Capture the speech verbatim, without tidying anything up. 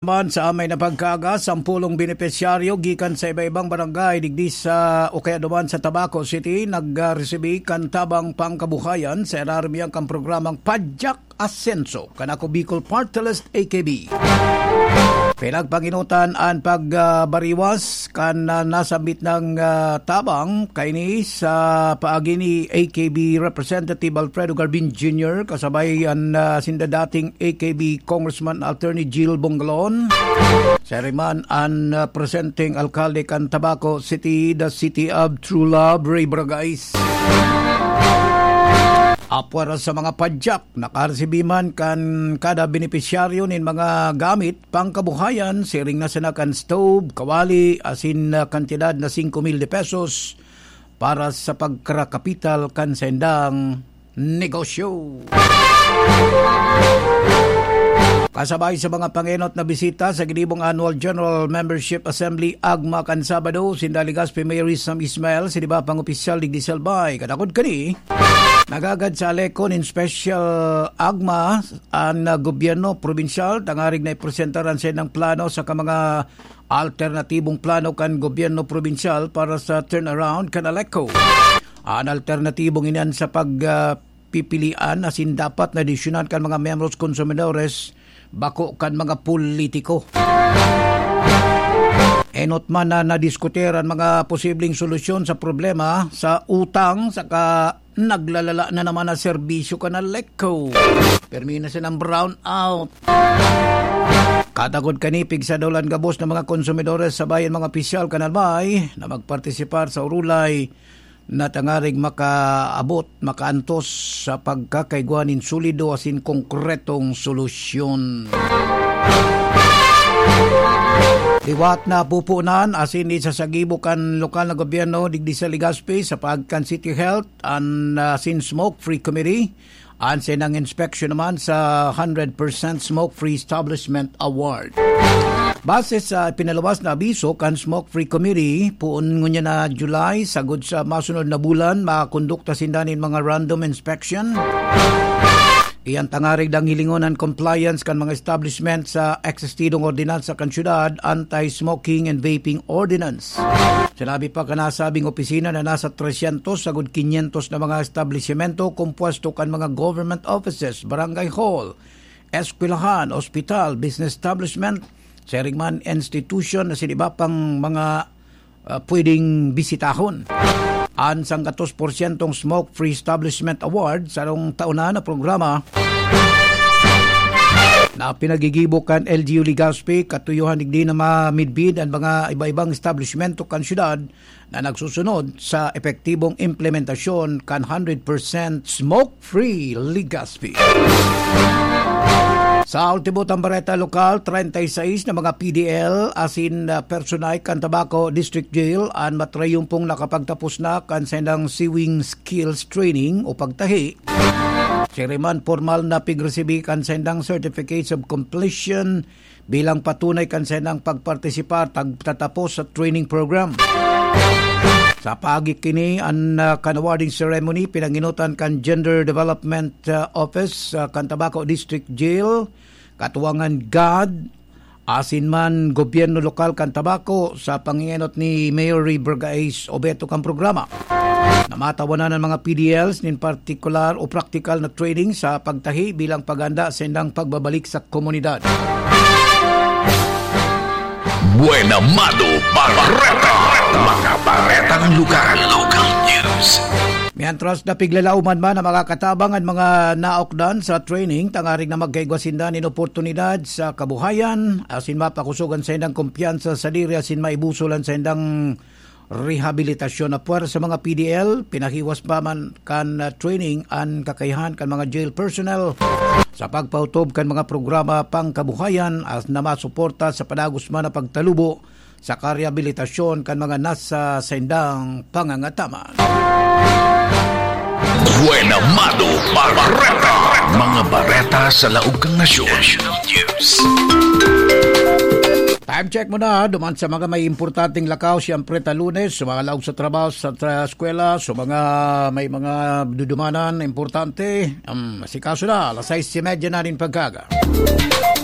Naman sa amay na pagkaaga, sampulong benepisyaryo gikan sa iba-ibang barangay digdi sa o kaya duman sa Tabaco City nagresibi kan tabang pangkabuhayan sa ilarom niyan kan programang Padyak Asenso kan Ako Bicol Party List, A K B. Pinagpanginutan an pagbariwas kan, ah, nasambit nang, ah, tabang kaini sa paagi ni A K B Representative Alfredo Garbin Junior kasabay an, ah, sinda dating A K B Congressman Attorney Jill Bongalon. Siring man an, ah, presenteng alkalde kan Tabaco City, the City of True Love, Ray Bragais. Apwera sa mga padyak, nakaresibi man kan kada benepisyaryo nin mga gamit pangkabuhayan, siring na sana kan stove, kawali, asin, ah, kantidad na singko mil de pesos para sa pagkarakapital kan saindang negosyo. Kasabay sa mga pangenot na bisita sa ginibong Annual General Membership Assembly, AGMA, kan Sabado, sinda Legazpi Mayor Sam Ismail, sinda iba pang opisyal digdi sa Albay. Kadakod kani, nagagad sa Aleco nin special AGMA an, ah, gobyerno probinsyal, tangarig na ipresentar an saindang plano saka mga alternatibong plano kan gobyerno probinsyal para sa turnaround kan Aleco. An alternatibong iyan sa pag, ah, pipilian asin dapat na desisyonan kan mga miyembros konsumidores, bako kan mga politiko. Enot man na nadiskutir an mga posibleng solusyon sa problema sa utang saka naglalala na naman na serbisyo kan Aleco. Permi na silang brown out. Katakod kani, pigsa daw lang gabos na mga konsumidores sa bayan, mga opisyal kan Albay na magpartisipar sa urulay na tangarig makaabot, makaantos sa pagkakaigwa nin solido asin konkretong solusyon. Liwat na pupunan asin isasagibo kan lokal na gobyerno digdi sa Legazpi sa paagi kan City Health an, ah, Sin Smoke Free Committee. An saindang inspeksyon naman sa Hundred Percent Smoke Free Establishment Award. Base sa pinaluwas na abiso kan Smoke Free Committee, poon ngunyan na July, sagod sa masunod na bulan, makakondukta sinda nin mga random inspection. Iyan tangarig dang hilingon an compliance kan mga establishment sa eksistidong ordinansa kan syudad, Anti-Smoking and Vaping Ordinance. Sinabi pa kan nasabing opisina na nasa tresyentos sagod kinyentos na mga establisimento kompuesto kan mga government offices, barangay hall, eskwelahan, ospital, business establishment, siring man institution na sin iba pang mga, ah, pwedeng bisitahon. An sanggatos porsyentong Smoke Free Establishment Award, sarong taon na na programa na pinagigibo kan L G U Legazpi, katuyohan digdi na mamidbid an mga iba-ibang establishmento kan syudad na nagsusunod sa epektibong implementasyon kan hundred percent smoke-free Legazpi. Sa ultimo tang bareta lokal, treinta y seis na mga P D L asin, ah, personay kan Tabaco District Jail an matrayumpong nakapagtapos na kan saindang sewing skills training o pagtahi. Siring man, pormal na pigresibi kan saindang certificates of completion bilang patunay kan saindang pagpartisipar tag tatapos sa training program. Sa paagi kini, an, ah, kan awarding ceremony pinanginutan kan Gender Development, ah, Office, ah, kan Tabaco District Jail, katuwangan GAD, asin man gobyerno lokal kan Tabaco sa pangenot ni Mayor Ray Bergais Obeto kan programa. Namatawanan an mga P D Ls nin partikular o praktikal na training sa pagtahi bilang paghanda sa indang pagbabalik sa komunidad. Buena Mado Bareta. Mga baretang lugar. Local news. Mientras napiglalaoman man ang mga katabang, ang mga naokdan sa training, tangaring na magkaigwa sinda nin oportunidad sa kabuhayan, asin mapakusogan sa indang kumpiyansa sa diri asin maibusol an saindang rehabilitasyon. Na puwera sa mga P D L, pinahiwas pa man kan, ah, training an kakayahan kan mga jail personnel sa pagpautob kan mga programa pangkabuhayan as na masuporta sa padagos man na pagtalubo sa karehabilitasyon kan mga nasa saindang pangangataman. Buena Mado Bareta. Mga bareta sa laog kan nasyon. National News. Time check muna, duman sa mga may importanteng lakaw, siyempre, ta Lunes, sa mga laog sa trabaho, sa tra-, eskwela, sa mga may mga dudumanan, importante, um, si kaso na, alas sais y media na rin pagkaga.